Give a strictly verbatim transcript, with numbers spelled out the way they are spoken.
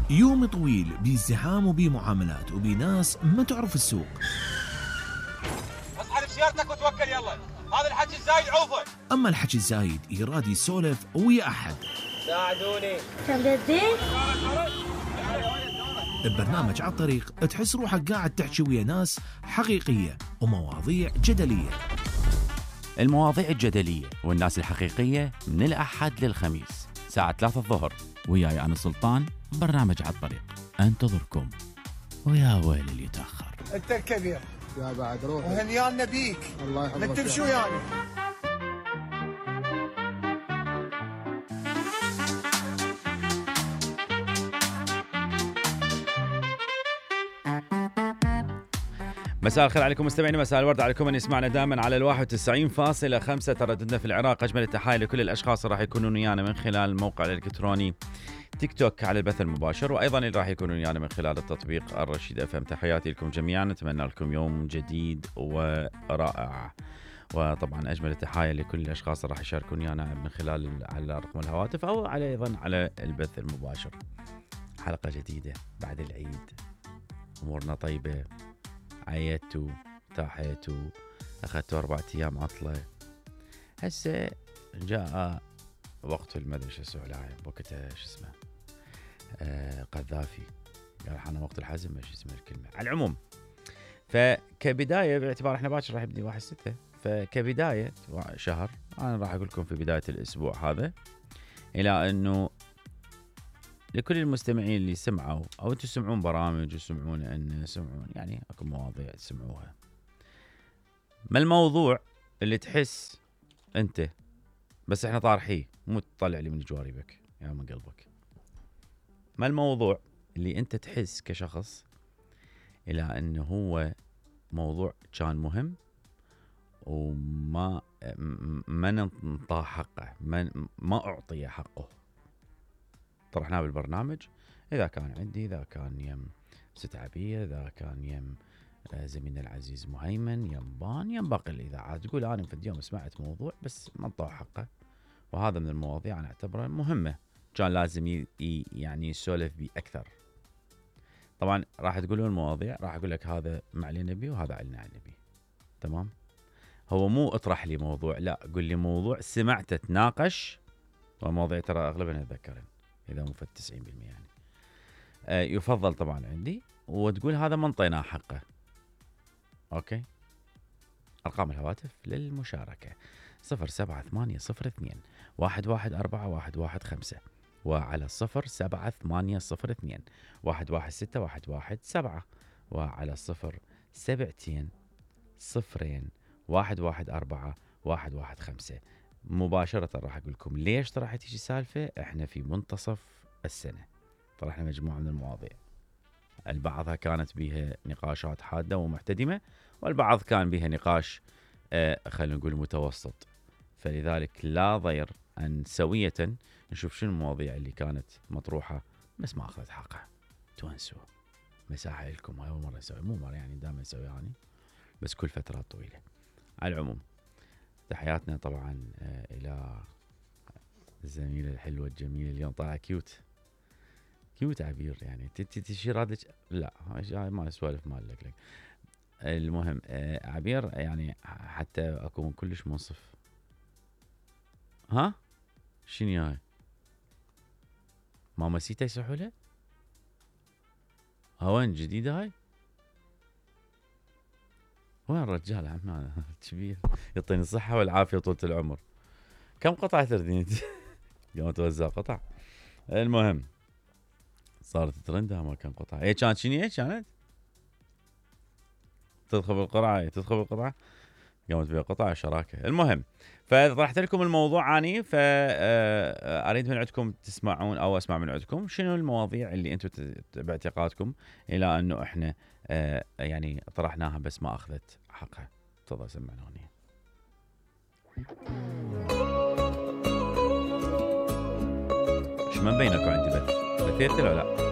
يوم طويل بازدحام وبمعاملات وبناس ما تعرف السوق. اصحى بسيارتك وتوكل يلا، هذا الحكي الزايد عوفه. اما الحكي الزايد يراد يسولف ويا احد. ساعدوني. تمدين؟ ببرنامج على الطريق تحس روحك قاعد تحكي ويا ناس حقيقية ومواضيع جدلية. المواضيع الجدلية والناس الحقيقية من الأحد للخميس ساعة ثلاثة الظهر، وياي أنا سلطان. برنامج على الطريق انتظركم، ويا ويل اللي يتأخر. انت الكبير يا بعد روح وهنيانا بيك. الله يحفظك. انك تمشي ويانا. مساء الخير عليكم مستمعينا، مساء الورد عليكم من يسمعنا دائما على الواحد وتسعين فاصلة خمسة ترددنا في العراق. أجمل التحايا لكل الأشخاص اللي راح يكونون ويانا من خلال الموقع الإلكتروني تيك توك على البث المباشر، وأيضا اللي راح يكونون ويانا من خلال التطبيق الرشيد اف ام. تحياتي لكم جميعا، نتمنى لكم يوم جديد ورائع. وطبعا أجمل التحايا لكل الأشخاص اللي راح يشاركون ويانا من خلال على رقم الهواتف أو على أيضا على البث المباشر. حلقة جديدة بعد العيد، أمورنا طيبة، عيتوا تاحيتوا أخذتوا أربعة أيام عطلة. هسه جاء وقت المدري شو اسمه لاعب وقتها شو اسمه آه قذافي قال حنا وقت الحزم، ما شو اسمه الكلمة. على العموم فكبداية باعتبار احنا باكر راح يبدي واحد ستة، فكبداية شهر أنا راح أقول لكم في بداية الأسبوع هذا إلى أنه لكل المستمعين اللي سمعوا او انتم تسمعون برامج وسمعون ان سمعون يعني اكو مواضيع تسمعوها، ما الموضوع اللي تحس انت بس احنا طارحيه مو تطلع لي من جواربك يعني من قلبك، ما الموضوع اللي انت تحس كشخص الى انه هو موضوع كان مهم وما ما ننطى حقه، ما ما اعطي حقه. طرحناه بالبرنامج، إذا كان عندي، إذا كان يم ست عبية، إذا كان يم زميلنا العزيز مهيمن، يم بان، يم باقي الإذاعات. تقول أنا في اليوم سمعت موضوع بس ما انطاه حقه، وهذا من المواضيع أنا أعتبرها مهمة، كان لازم ي... يعني يسولف بي أكثر. طبعا راح تقولون المواضيع، راح أقول لك هذا معلنا بي وهذا علنا على بي، تمام؟ هو مو اطرح لي موضوع، لا قل لي موضوع سمعته تناقش، ومواضيع ترى أغلبها نتذكرها إذا مو في التسعين بالمئة يعني. آه يفضل طبعا عندي وتقول هذا ما انطيناه حقه. أوكي، أرقام الهواتف للمشاركة صفر سبعة ثمانية صفر اثنين واحد واحد أربعة واحد واحد خمسة، وعلى صفر سبعة ثمانية صفر اثنين واحد واحد ستة واحد واحد سبعة، وعلى صفر سبعتين صفرين واحد واحد أربعة واحد واحد خمسة. مباشرة راح أقول لكم ليش راح تيجي سالفة. إحنا في منتصف السنة، طرحنا مجموعة من المواضيع، البعضها كانت بها نقاشات حادة ومحتدمة، والبعض كان بها نقاش آه خلينا نقول متوسط. فلذلك لا ضير أن سوية نشوف شنو المواضيع اللي كانت مطروحة بس ما أخذت حقها. تونسوا مساحة لكم، هاي أول مرة نسوي، مو مرة يعني دائما نسوي يعني بس كل فترات طويلة. على العموم تحياتنا طبعا الى الزميله الحلوه الجميله اليوم طالعه كيوت كيوت عبير يعني تشير هذا لا ما اسولف مالك لك. المهم عبير يعني حتى اكون كلش منصف. ها شنو هاي ماما سيتا يسحولها هوين جديده هاي؟ وين الرجال عمان كبير يعطيني الصحة والعافية وطولة العمر. كم قطعة تردين يوم توزع قطع؟ المهم صارت ترندها ما كم قطعة. ايه كانت شنو ايه كانت؟ تدخل بالقرعة تدخل بالقطعة قامت بها قطع شراكة. المهم فطرحت لكم الموضوع اني، فاريد من عندكم تسمعون او اسمع من عندكم شنو المواضيع اللي انتم باعتقادكم الى انه احنا آه يعني طرحناها بس ما اخذت حقها. تفضل سمعنا هنا. شو ما مبينكم عندي بث بثيت ولا لا؟